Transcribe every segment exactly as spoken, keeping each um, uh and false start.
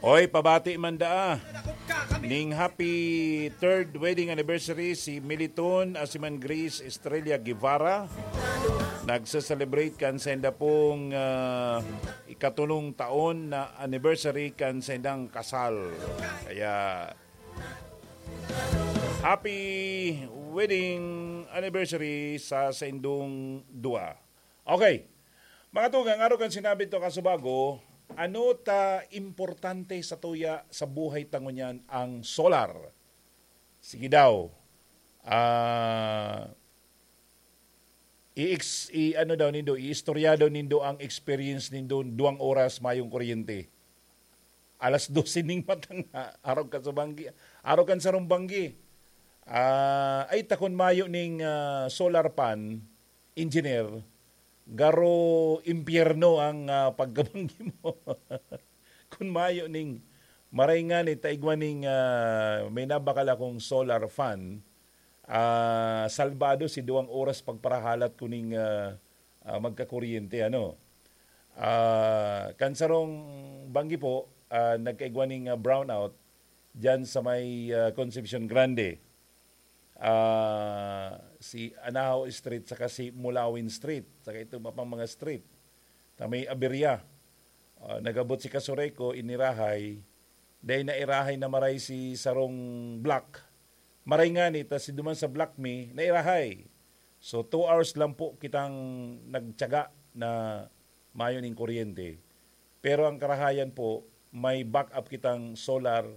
Oy, pabati man daa ning happy third wedding anniversary si Militon Asiman Grace Estrella Guevara. Nagse-celebrate kan sainda pong, ah, ikatulong taon na anniversary kan saindang kasal. Kaya, happy wedding anniversary sa saindong dua. Okay. Mga tugang, arog kan sinabi to kasubago, ano ta importante sa tuya sa buhay ta ngunyan ang solar? Sige daw. Ah, i-ex-, i-, ano daw nindo, iistorya daw nindo ang experience nindo duwang oras mayong kuryente. Alas dose ning matang, arog ka sa banggi, arog kan sarong banggi. Ah, ay, takon mayo ning, ah, solar pan, engineer, garo impyerno ang, ah, pagkabanggi mo. Kun mayo ning, maray ngani, ta igwa ning, ah, may nabakal akong solar fan, ah, salbado si duwang oras pagparahalat ko ning, ah, ah, magkakuryente, ano. Ah, kan sarong banggi po, ah, nagkaigwa ning, ah, brownout diyan sa may, ah, Concepcion Grande. Ah, si Anahaw Street saka si Mulawin Street, saka itong iba pang mga street na may aberya. Ah, nag-abot si Kasureco, inirahay. Dahil nairahay na maray si sarong block. Maray ngani, ta si duman sa block mi, nairahay. So, two hours lang po kitang nagtiyaga na mayo ning kuryente. Pero ang karahayan po, may backup kitang solar,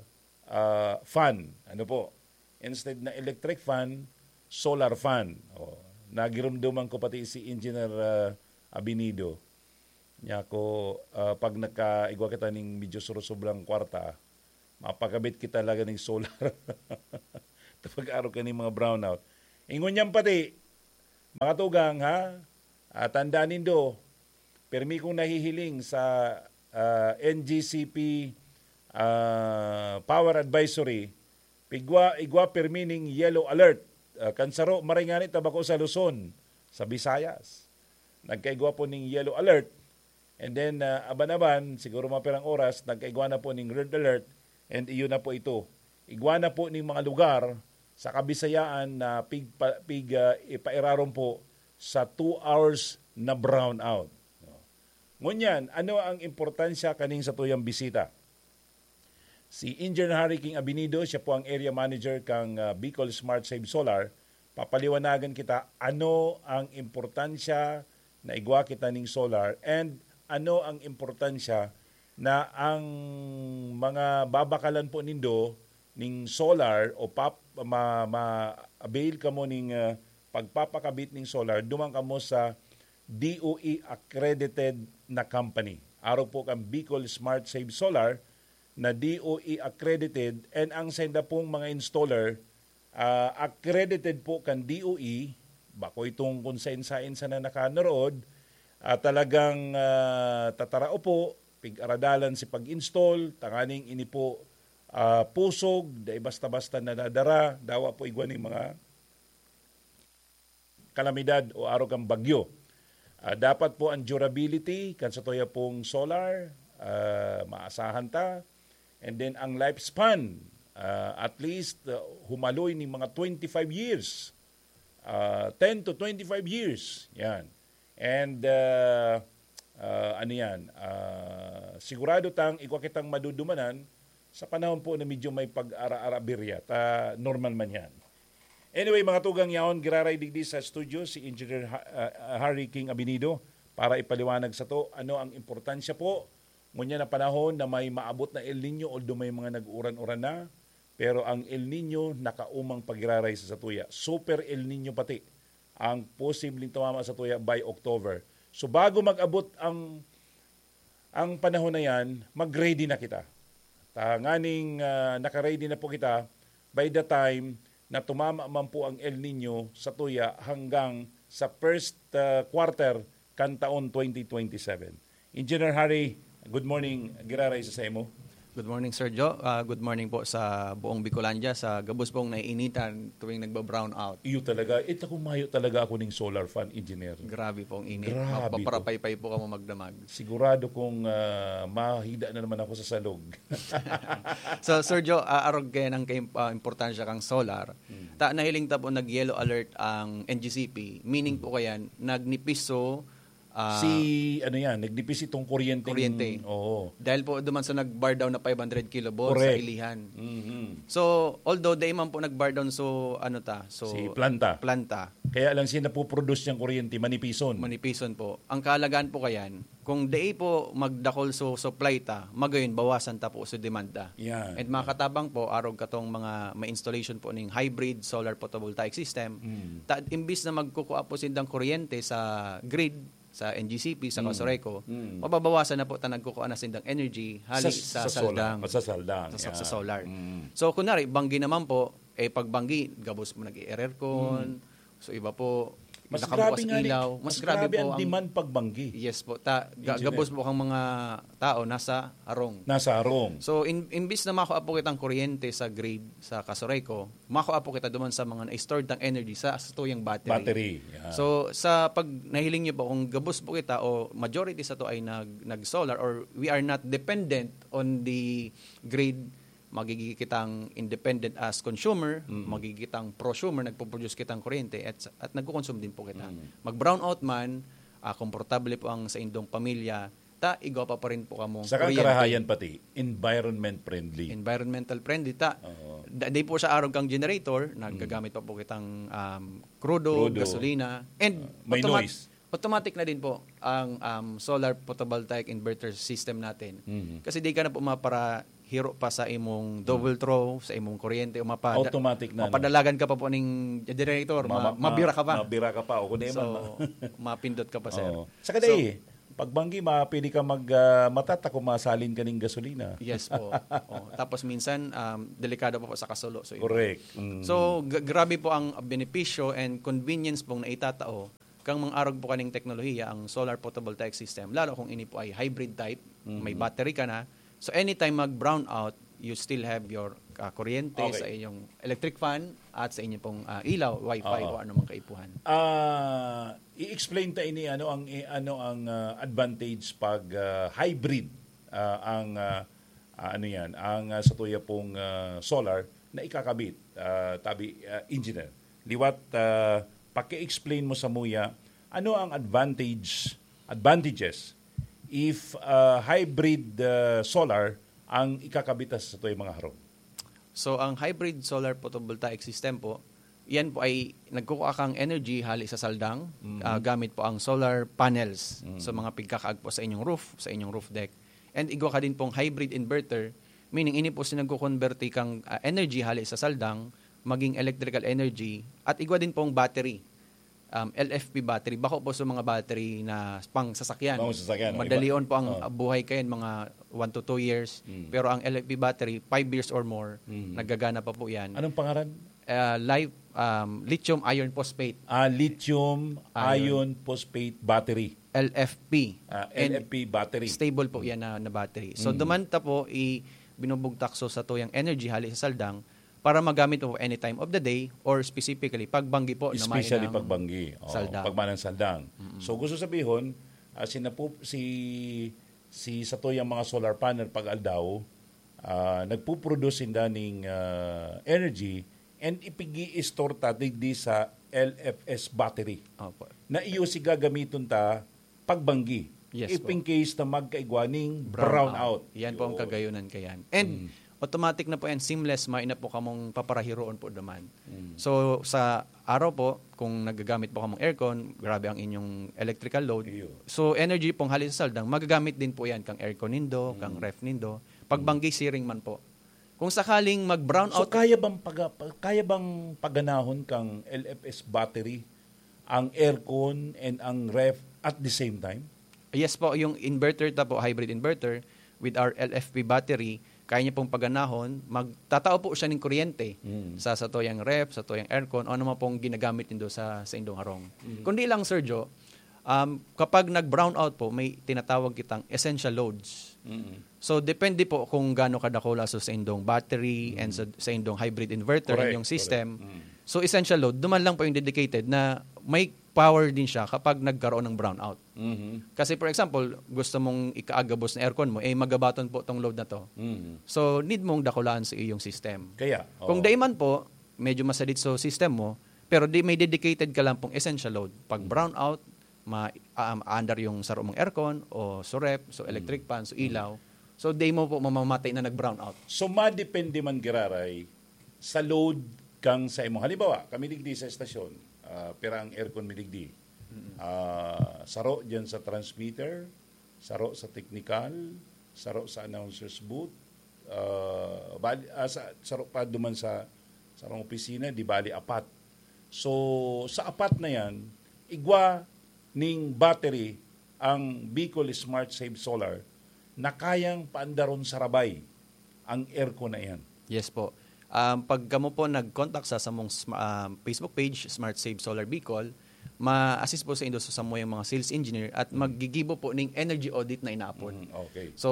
ah, fan. Ano po? Instead na electric fan, solar fan. O, nagirumduman ko pati si Engineer, ah, Abinido. Niya ko, ah, pag nagkaigwa kita ning medyo surusoblang kwarta, mapakabit kita talaga ning solar. Kapag araw ka ning mga brownout. Ingon niyan pati, mga tugang, ha? Ah, tandaan nindo, permi kong nahihiling sa, ah, N G C P, ah, Power Advisory, pigwa, igwa permi ning yellow alert. Ah, kan saro, maray ngani ta bako sa Luzon, sa Visayas. Nagkaigwa po ning yellow alert. And then, ah, aban-aban, siguro mga pirang oras, nagkaigwa na po ning red alert. And iyon na po ito. Igwa na po ning mga lugar sa Kabisayaan na pig, pa, pig, ah, ipairarom po sa two hours na brownout. Ngunyan, ano ang importansya kaning satuyang bisita? Si Engineer Harry King Abinido, siya po ang area manager kang, ah, Bicol Smart Save Solar. Papaliwanagan kita ano ang importansya na igwa kita ning solar and ano ang importansya na ang mga babakalan po nindo ning solar o pap-, ma-, ma-avail kamo ning, ah, pagpapakabit ning solar, duman kamo sa D O E accredited na company. Arog po kan Bicol Smart Save Solar na D O E accredited, and ang sainda pong mga installer, ah, accredited po kan D O E, bako itong kung sain-sain sana nakanurood, ah, talagang, ah, tatarao po, pig-aradalan si pag-install, tanganing ini po, ah, pusog, dai basta-basta nadadara, dawa po igwa ning mga kalamidad o arog kan bagyo. Ah, dapat po ang durability kan satuya pong solar, ah, maasahan ta. And then ang lifespan, ah, at least, ah, humaloy ning mga twenty-five years. Ah, ten to twenty-five years. Yan. And, ah, ah, ano yan, ah, sigurado tang igwa kitang madudumanan sa panahon po na medyo may pag-ara-ara birya. Ta normal man yan. Anyway, mga tugang, yaon, giraray digdi sa studio si Engineer Ha-, ah, Harry King Abinido para ipaliwanag sato ano ang importansya po ngunyan na panahon na may maabot na El Niño, although may mga nag-uran-uran na, pero ang El Niño nakaumang pagiraray sa satuya. Super El Niño pati ang posibleng tumama satuya by October. So, bago mag-abot ang, ang panahon na yan, mag-ready na kita. Tanganing, ah, naka-ready na po kita by the time na tumama man po ang El Niño satuya hanggang sa first, ah, quarter kan taon twenty twenty-seven. Engineer Harry, good morning, giraray sa saimo. Good morning, Sir Joe. Ah, good morning po sa buong Bicolandia, sa gabos pong naiinitan tuwing nagba-brown out. Iyo talaga. Ito kung mayo talaga ako ning solar fan, engineer. Grabe pong init. Grabe po. Mapaparapaypay po kamo magdamag. Sigurado kung, ah, mahida na naman ako sa salog. So, Sir Joe, ah, arog kaya ng kaim-, ah, importansya kang solar. Hmm. Ta, nahiling ta po nag-yellow alert ang N G C P. Meaning po kaya, nagnipiso, ah, Si, ano yan, nagnipis itong kuryenteng Kuryente. Oo. Dahil po duman sa nag-bar down na five hundred kilovolts sa Correct. Ilihan. Mhm. So, although dai man po nag-bar down, so, ano ta, so, Si planta. planta. Kaya lang siya napoproduce niyang kuryente, manipison. Manipison po. Ang kahalagahan po kayan, kung dai po magdakol so supply ta, magayon bawasan ta po so demand ta. Yan. And makatabang po, arog katong mga may installation po ning hybrid solar photovoltaic system, Mm. ta, imbis na magkukua po sindang kuryente sa grid, sa N G C P, sa Mm. Casureco, Mm. mababawasan na po ta nagkukua na sindang energy hali Sa, sa, sa solar. saldang. Sa, sa saldang, Sa, sa, sa yan. solar. Mm. So, kunwari, banggi naman po, eh, pag banggi, gabos mo nag-i-aircon. Mm. So, iba po, Mas nakabukas grabe nga ni-, ilaw. Mas mas grabe grabe po ang ang demand pag banggi. Yes po. Ta-, ga-, Engineer. gabos po ang mga tao nasa harong. Nasa harong. So, in-, imbis na makuha po kitang kuryente sa grid, sa Casureco, makuha po kita duman sa mga na-stored tang energy sa, sa tuyang battery. Battery, yeah. So, sa pag nahiling niyo po, kung gabos po kita o majority sa to ay nag-, nag-solar or we are not dependent on the grid, magiging kitang independent as consumer, Mm. magiging kitang prosumer, nagpo-produce kitang kuryente at, at nagko-consume din po kita. Mm. Mag-brownout man, ah, komportable po ang sa indong pamilya, ta, igwa pa, pa rin po kamo Saka ang kuryente. karahayan pati, environment friendly. Environmental friendly, ta. Oo. Da-, di po siya arog kang generator, nagagamit Mm. pa po kitang, um, crudo, Crudo. gasolina, and Ah, may automat-, noise. automatic na din po ang, um, solar photovoltaic inverter system natin. Mhm. Kasi di ka na po maparahiro pa sa imong double Mm. throw, sa imong kuryente, o mapada-, Automatic na, no? mapadalagan ka pa po ning generator, Ma-, ma-, ma-, mabira ka pa. mabira ka pa, o kung di So, man, ma- mapindot ka pa, sir. Oo. Saka So, dai, pag banggi, ma-, pwede ka mag, ah, matata kung masalin ka ning gasolina. Yes po. Oh, tapos minsan, um, delikado pa po sa kasulo. So, yun. Correct. Mm. So, g-, grabe po ang benepisyo and convenience pong naitatao kang mga arog po kaning teknolohiya, ang solar photovoltaic system, lalo kung ini po ay hybrid type, may Mhm. battery ka na. So, anytime mag-brown out, you still have your, ah, kuryente Okay. sa inyong electric fan at sa inyong pong, ah, ilaw, wifi Oo. o anumang kaipuhan. Ah, i-explain ta ini, ano ang, i-, ano ang, ah, advantage pag, ah, hybrid, ah, ang, ah, ah, ano yan, ang, ah, sa tuya pong, ah, solar na ikakabit, ah, tabi, ah, engineer. Liwat, ah, paki-explain mo sa muya, ano ang advantage, advantages if, ah, hybrid, ah, solar ang ikakabit sa tuya mga harong? So, ang hybrid solar photovoltaic system po, yan po ay nagkukuha kang energy hali sa saldang, Mhm. ah, gamit po ang solar panels. Mhm. So, mga pigkakaag po sa inyong roof, sa inyong roof deck. And igwa ka din pong hybrid inverter, meaning ini po si nagkukonberte kang, ah, energy hali sa saldang, maging electrical energy, at igwa din pong battery, um, L F P battery. Bako po sa mga battery na pang sasakyan. Pang sasakyan, oh, iba. Madalion po ang Oh. buhay kayan, mga one to two years. Mm. Pero ang L F P battery, five years or more, Mm. naggagana pa po yan. Anong pangaran? Ah, li-, um, lithium iron phosphate. Ah, lithium Iron. iron phosphate battery. L F P. Ah, And L F P battery. stable po Mm. yan na, na battery. So, Mm. duman ta po, i-, binubugtak so sa tuyang energy hali sa saldang para magamit mo anytime of the day or specifically pagbanggi po na Especially mahinang pagbanggi. Oo, saldang. pagmanang saldang. Mm-mm. So, gusto sabihon, ah, sinapu-, si, si sa tuyang mga solar panel pag aldaw, ah, nagpuproduce sinda ning, ah, energy and ipig-i-store ta digdi sa L F S battery Opo. na iyo si gagamiton ta pagbanggi. Yes If po. in case na magkaigwa ning Brown brown out. out. Yan po ang Yun. kagayunan kayan. And Mm. automatic na po yan, seamless, may na po kamong paparahiroon po duman. Mm. So, sa araw po, kung nagagamit po kamong aircon, grabe ang inyong electrical load. Iyo. So, energy pong hali sa saldang, magagamit din po yan kang aircon nindo, kang Mm. ref nindo. Pagbanggi, Mm. siring man po. Kung sakaling mag-brown So, out kaya bang paga-, pa-, kaya bang paganahon kang L F S battery ang aircon and ang ref at the same time? Yes po, yung inverter ta po, hybrid inverter, with our L F P battery, kaya niya pong paganahon, magtatao po siya ng kuryente Mm. sa, sa tuyang ref, sa tuyang aircon, o ano man pong ginagamit nindo sa, sa indong harong. Mm. Kundi lang, Sir Joe, Um, kapag nag-brownout po, may tinatawag kitang essential loads. Mm. So, depende po kung gaano kadakula so sa indong battery and sa, sa indong hybrid inverter, Correct, inyong system. correct. Mm. So, essential load, duman lang po yung dedicated na may power din siya kapag nagkaroon ng brownout. Mhm. Kasi for example, gusto mong ikaagabos na aircon mo, eh magabaton po tong load na to. Mhm. So, need mong dakulaan sa iyong system. Kaya, Kung oo. daiman po, medyo masadit sa system mo, pero di may dedicated ka lang pong essential load. Pag Mm. brownout, ma um, under yung saro mong aircon o so ref, so electric fan, so ilaw. So, di mo po mamamatay na nag-brownout. So, madepende man giraray sa load kang sa imong. Halimbawa, kami digdi sa estasyon, ah, pira ang aircon mi digdi. Ah, saro dyan sa transmitter, saro sa technical, saro sa announcer's booth, ah, bali, ah, sa, saro pa duman sa, sa opisina, di bali apat. So, sa apat na yan, igwa ning battery ang Bicol Smart Save Solar na kayang paandaron sa rabay ang aircon na iyan. Yes po. Um, pag kamo po nag-contact sa samong sma- um, Facebook page, Smart Save Solar Bicol, ma-assist po sa indo sa samuyang mga sales engineer at maggigibo po ning energy audit na inaapod. Mm, okay. So,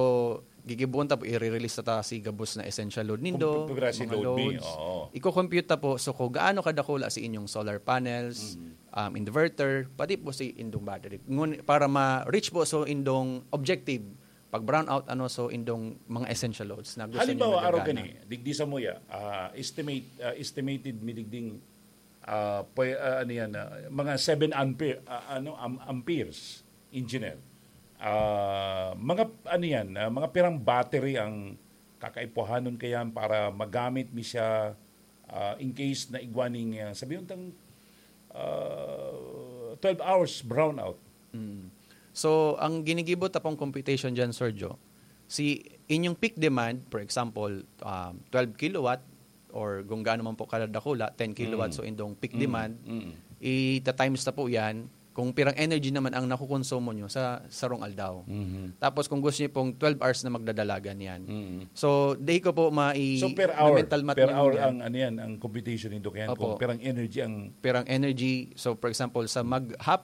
gigibuon ta po, i-release ta si gabos na essential load nindo, Kung pipira si mga load ni, loads. Oo. Iko-compute ta po, so kung gaano kadakula si inyong solar panels, Mm. um, inverter, pati po si indong battery. Ngun, para ma-reach po so indong objective, pag brownout, ano, so indong mga essential loads na gusto Halimbawa, niyo araw nagagana. Gani, digdi sa muya, ah, estimate, ah, estimated mi digding, ah, pwe- ah, ano yan, ah, mga seven ampere, ah, ano, am- amperes, engineer. Ah, mga, ano yan, ah, mga pirang battery ang kakaipuhanon kayan para magamit mi siya, ah, in case na igwa ning, ah, sabihin tang, ah, twelve hours brownout. Mm. So, ang ginigibo ta pong computation dyan, Sir Joe, si inyong peak demand, for example, um, twelve kilowatt, or kung gaano man po kadakula, ten kilowatt, Mm. so indong peak Mm, demand, mm. ita-times ta po yan kung pirang energy naman ang nakukonsumo nyo sa sarong aldaw. Mhm. Tapos kung gusto nyo pong twelve hours na magdadalagan yan. Mm. So, di ko po mai- So per hour, mental math per ninyo hour yan. Ang ano yan, ang computation nito kaya Opo. Kung pirang energy ang Pirang energy. So, for example, sa mag half